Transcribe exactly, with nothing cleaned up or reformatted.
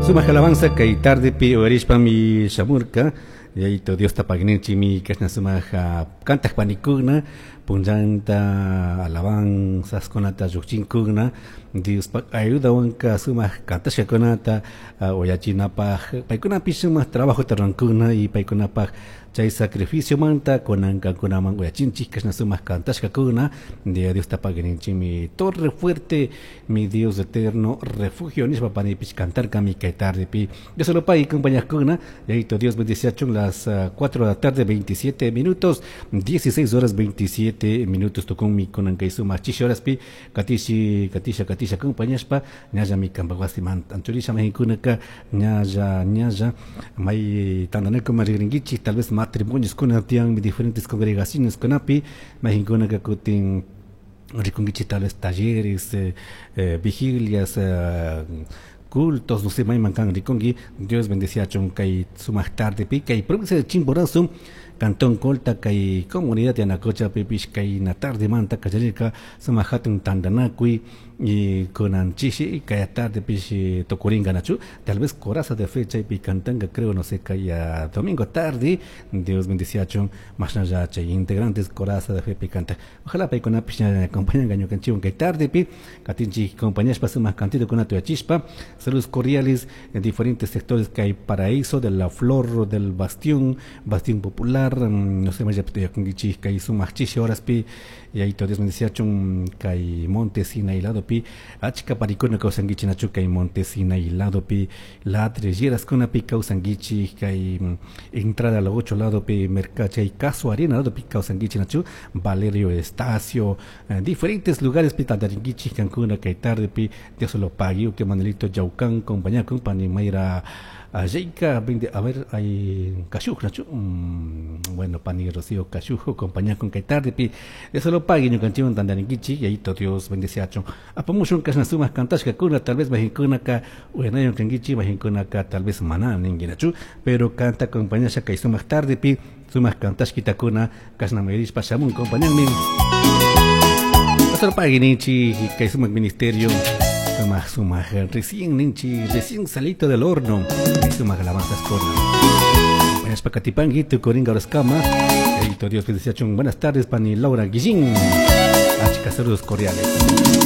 Sumak alabanza kay tardepi uyarishpami shamurka Yayito Diosta pagui kashna sumak kantaq panikuna punllanta alabanzaskunata lluqchinkuna Diospaq ayudawanka sumak kantashkakunata uyachinapaq paykunapish sumak trabajota rurankuna y paykunapaq chay sacrificiomanta kunankakunaman uyachinchik kashna sumak kantashkakuna Diosta pagui Torre fuerte, mi Dios eterno refugio nishpa panipish kantarkami kay tardepi Dios lo pague compañakuna Yayito Dios bendiciachun las cuatro de la tarde veintisiete minutos, dieciséis horas veintisiete minutos tukunmi kunan kay sumak chishi horaspi katishi katisha katisha compañashpa ñallami kanpak wasiman anchurisha mahinkunaka ñalla ñalla may tantanakuman rigrinkichik tal vez matrimonios kuna tiyan diferentes congregaciones kunapi mahinkunaka kutin rikunkichik tal vez talleres eh, eh, vigilias eh, cultos, no sé, mayman kan rikunki Dios bendeciachun kay sumak tardepi kay provincia de Chimborazo Cantón Colta kay comunidad de Yanacocha pipish kay na tarde manta kacharirka sumak hatun tantanakuy y kunan chishi kay tarde pish tukuringa nachu tal vez coraza de fe chaypi cantanga creo no sé kay domingo tarde Dios bendeciachun mashnalla chay integrantes coraza de fe pi canta ojalá paykunapish acompañan ñukanchikwan kay tarde pi katinchik compañashpa sumak cantito kunata uyachishpa. Saludos cordiales en diferentes sectores que hay Paraíso de la Flor del Bastión, Bastión Popular, no sé más ya kay sumak chishi horaspi y ahí Dios bendeciachun kay Monte Sinaí lado pi achka parikuna kawsankichik nachu kay Monte Sinaí lado pi ladrilleras kunapi kawsankichik kay entrada a la ocho lado pi mercachay Caso Arena lado pi kawsankichik nachu Valerio Estacio eh, diferentes lugares pi tantarinkichik kankuna kay tarde pi Dios lo pague que Manuelito Yaucan compañía con pani Mayra Ayeka, a ver, hay Kashuj, nachu, mm, bueno, pani Rocío Kashujo, compañía con kay tarde pi Dios lo pague ñukanchikwan tantarinkichik y ahí todo Dios bendeciachun apamushun kashna sumak kantashkakuna tal vez mahinkunaka uyanayon kankichik mahinkunaka tal vez mana ninkinachu pero canta compañía kay sumak tarde pi sumak kantashkitakuna kashna mayarishpa shamun compañanmin Pastor pague ninchik kay sumak ministerio sumak sumak recién ninchi recién salito del horno sumak alabanzas kuna buenas pakatipangi tukuringa horaskama Dios bendeciachun buenas tardes pani Laura Guillín achka saludos cordiales.